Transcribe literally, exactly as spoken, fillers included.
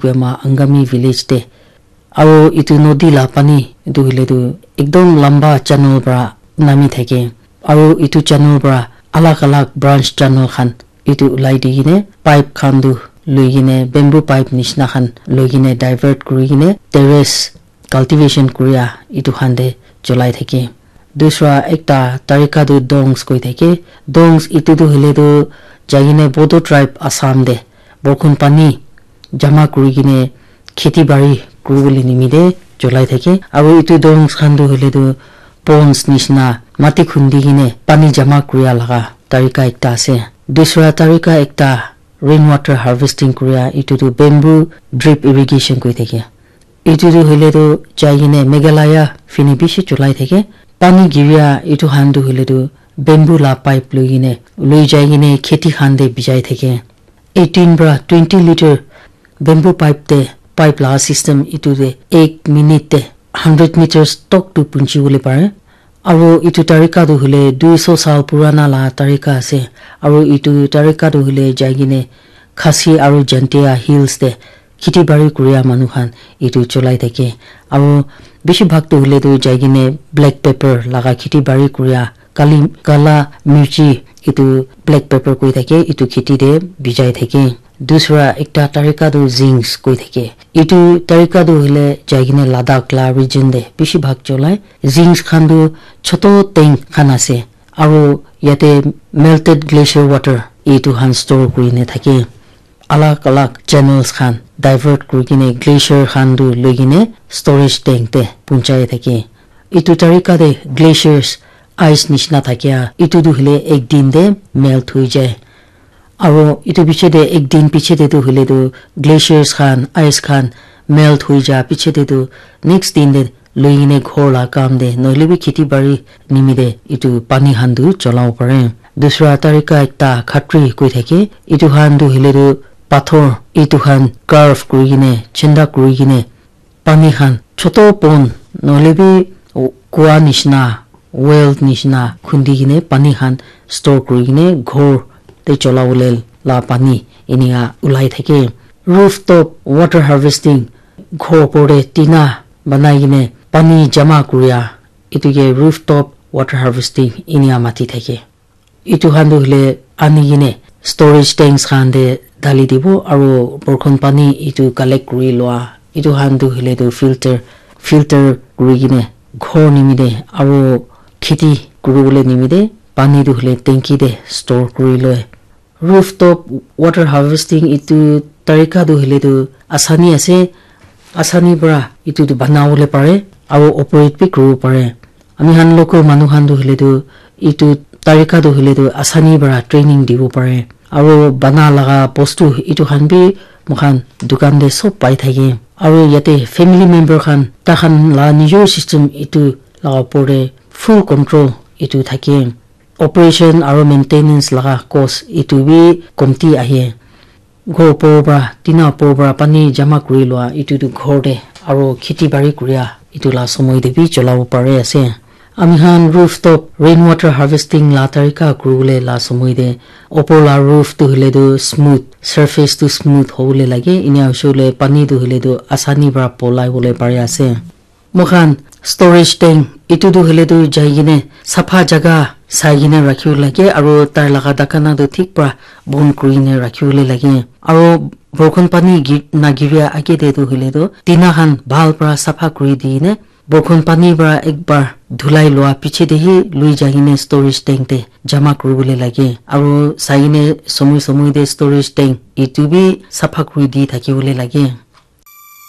Koima Angami village te. Aro etu nodi la pani etu hoile tu ekdom lamba channel para nami thake. Aro etu channel para alag alag branch channel khan etu ulai di kene pipe khan tu loi kene bamboo pipe nishina khan loi kene divert kuri kene terrace cultivation kuria etu khan te cholai thake. Dusra ekta tarika tu dongs koi thake. Dongs etu tu hoile tu jai kene Bodo tribe Assam te borkhon pani jama kuri kene kheti bari kuri bole nimite cholai thake. Aro etu dongs khan tu hoile tu ponds nishina mati khundi kene pani jama kuria laga tarika ekta ase. Dusra tarika ekta rainwater harvesting kuria etu tu bamboo drip irrigation koi thake. Etu tu hoile tu jai kene Meghalaya fini bishi cholai thake. Pani giria etu khan tu hoile tu bamboo la pipe loi kene loi jai kene kheti khan te bijai thake. Eighteen para twenty litre bamboo pipe te pipe la system etu te ek minute te hundred meters tok tu punchi bole pare. Aro etu tarika tu hoile dui so saal purana la tarika ase. Aro etu tarika tu hoile jai kene Khasi aro Jaintia Hills te kheti bari kuria manu khan etu cholai thake. Aro bishi bhag tu hoile tu jai kene black pepper laga kheti bari kuria kali, kala mirchi etu black pepper koi thake etu kheti te bijai thake. Dusra ekta tarika tu zings koi thake. Etu tarika tu hoile jai kene Ladakh la region te bishi bhag cholai. Zings khan tu choto tank khan ase. Aro yate melted glacier water etu khan store kuri kene thake. Alag alag channels khan divert kuri kene glacier khan tu loi kene storage tank te punchai thake. Etu tarika te glaciers ice nishina thakia etu tu hoile ek din te melt hoi jai. Aro etu piche te ek din piche te tu hoile tu glaciers khan, ice khan melt hoi ja piche te tu next din te loi kene ghor la kam te nohoile bi kheti bari nimite etu pani khan tu cholabo pare. Dusra tarika ekta khatri koi thake, etu khan tu hoile tu pathor etu khan carve kuri kene, chenda kuri kene pani khan choto pond nohoile bi kua nishina, well nishina khundi kene pani khan store kuri kene ghor te chola bole la pani enika ulai thake. Rooftop water harvesting, ghor opor te tina banai kene pani jama kuria etu ke rooftop water harvesting enika mati thake. Etu khan tu hoile ani kene storage tanks khan te dali dibo aro borkhon pani etu collect kuri lua etu khan tu hoile tu filter, filter kuri kene ghor nimite aro kheti kuri bole nimite pani tu hoile tanki te store kuri loi. Rooftop water harvesting etu tarika tu hoile tu asani ase, asani para etu tu bana bole pare aro operate bi kuri bo pare. Ami khan local manu khan tu hoile tu etu tarika tu hoile tu asani para training dibo pare. Aro bana laga bostu etu khan bi moikhan dukan te sob pai thake. Aro yate family member khan, tai khan la nijor system etu laga opor te full control etu thake. Operation aro maintenance laga cost etu bi komti ahe. Ghor opor para, tina opor para pani jama kuri lua etu tu ghor te aro kheti bari kuria etu la somoi te bi cholabo pare ase. Ami khan rooftop rainwater harvesting la tarika kuri bole la somoi te opor la roof tu hoile tu smooth, surface tu smooth hobole lage, enia hoishe hoile pani tu hoile tu asani para polai bole pare ase. Moikhan storage tank etu tu hoile tu jai kene sapha jaga sai kene rakhibo lage aro tai laga dakana tu thik para bon kuri kene rakhibo le lage aro borkhon pani gi-, nagiria age te tu hoile tu tina khan bhal para sapha kuri di kene borkhon pani para ek bar dhulai lua piche te hi lui jai kene storage tank te jama kuri bole lage aro sai kene somoi somoi te storage tank etu bi sapha kuri di thaki bole lage.